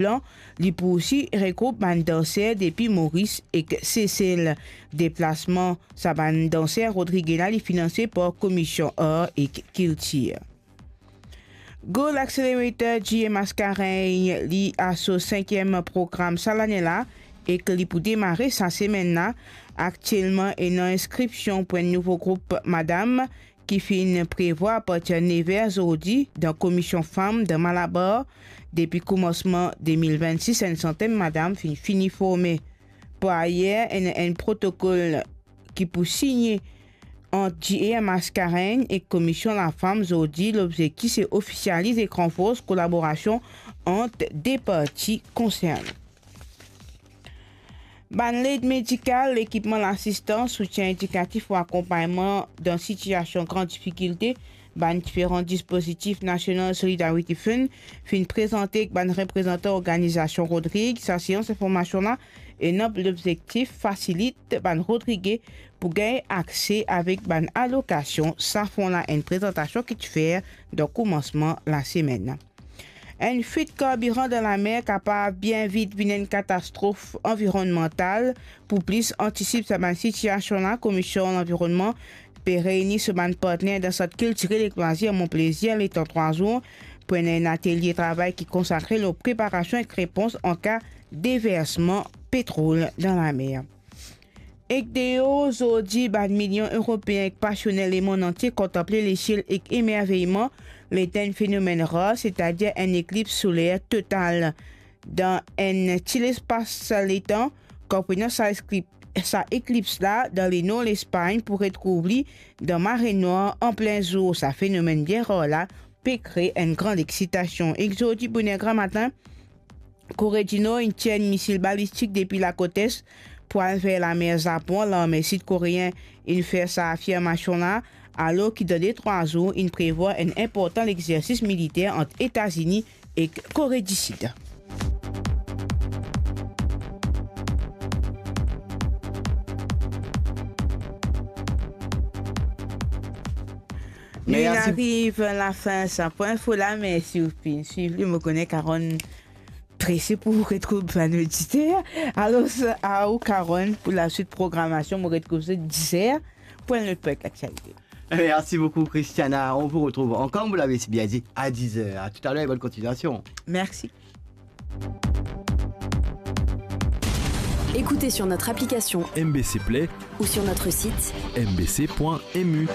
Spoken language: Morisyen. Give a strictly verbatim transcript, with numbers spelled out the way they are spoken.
plan, li pou osi regroup bann danser depi Moris ek Sesel. Deplasman sa bann danser Rodrig la, li finanse par Komisyon Ar ek Kiltir. Goal Accelerator G M Mascarenhas, li a so sinkiem program sa lane la, ek li pou demare sa semenn la. Aktielman, ena inskripsion pou enn nouvo group madam ki finn prevwar apartir nev er zordi dan Komisyon Fam dan Malabar. Depi koumansman de mil vennsis, enn santenn madam finn fini forme. Par ayer, ena enn protokol ki pou signe ant G M Mascarenhas ek Komisyon Lafam zordi. Lobzektif se ofisializ ek ranfors kolaborasion ant de parti konserne. Bann led medikal, lekipman lasistans, soutien edikatif ou akonpagnman dan sitiasion gran difikilte, bann diferan dispozitif National Solidarity Fund finn prezante ek bann reprezantan organizasion Rodrig. Sa seans informasion la ena pou lobzektif fasilit bann Rodrige pou gagn akse avek bann alokasion. Sa fon la enn prezantasion ki ti fer dan koumansman lasemenn. Enn fwit karbiran dan lamer kapav bien vit vinn enn katastrof anvironnmantal. Pou plis antisip sa bann sitiasion la, Komisyon Lanvironnman pe reyni so bann partner dan Sant Kiltirel ek Lwazir Mon Plaisir letan trwa zour pou ena enn atelie travay ki konsakre lor preparasion ek repons an ka deversman petrol dan lamer. Ek deor, zordi, bann milion Eropeen ek pasioner lemond antie kontanple lesiel ek emerveyman letan enn fenomenn rar, setadir enn eklips soler total. Dan enn ti lespas letan, konprenan sa eklip-, sa eklips la dan lenor Lespagn pou retrouv li dan mare nwar anplin zour. Sa fenomenn bien rar la pe kre enn gran exitasion. Ek zordi boner gramatin, Kore di Nor inn tir enn misil balistik depi lakot es pou al ver lamer Zapon. Larme sid koreen inn fer sa afirmasion la, alor ki dan de trwa zour inn prevwar enn inportan lexersis militer ant Etazini ek Kore di Sid. Nou Mersi. Ariv lafin sa pou info la, mersi ou finn swiv li. Mo kone Karonn prese pou retrouv bann oditer. Alor, a ou, Karonn, pou laswit programasion, mo retrouv zot dizer pou enn lot pwint laktialite. Merci beaucoup, Christiana. On vous retrouve encore, vous l'avez si bien dit, à dix heures. À tout à l'heure et bonne continuation. Merci. Écoutez sur notre application M B C Play ou sur notre site M B C point M U.